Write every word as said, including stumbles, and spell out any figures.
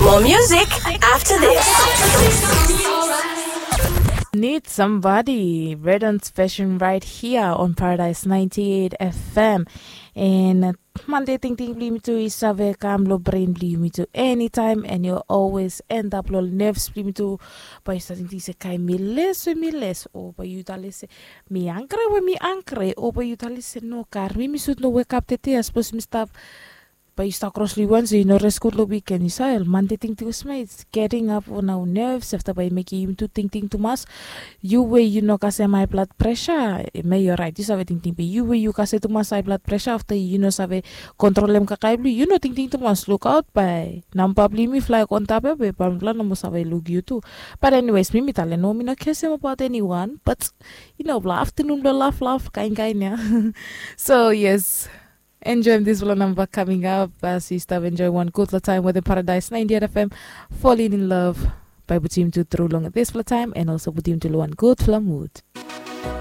More music after this. Need somebody. Redon's version right here on Paradise ninety-eight F M. And Monday tingting bli yumi tu i save kam lo brain bli yumi tu anytime and you always end up lo nerves bli yumi tu. Bai yu start tingting se kai mi les we mi les o bai yu tale se mi angre we mi angre o bai yu tale se no kar mi mi sut no wake up tete as pos mi stap. Bai yu stap kros lo yu wan se yu no res gud lo weekend yu save Monday tingting was made getting up on our nerves afta bai mekim yu tu tingting tumas. Yu we yu no kasem high blood pressure me yu right yu save tingting be yu we yu kasem tumas high blood pressure afta yu no save kontrolem kakai blo yu no tingting tumas lukaut bai namba blo yumi fly kontap ya be pamipela no mo save luk yu tu. But anyways mi mi tale no mi no kesem about anyone but you know bla afternoon bla laf laf kain kain ya. So yes. Enjoy this vlog number coming up as you start enjoy one good time with the Paradise ninety-eight F M. Falling in love by Butim to through long this vlog time and also Butim to one good flow mood.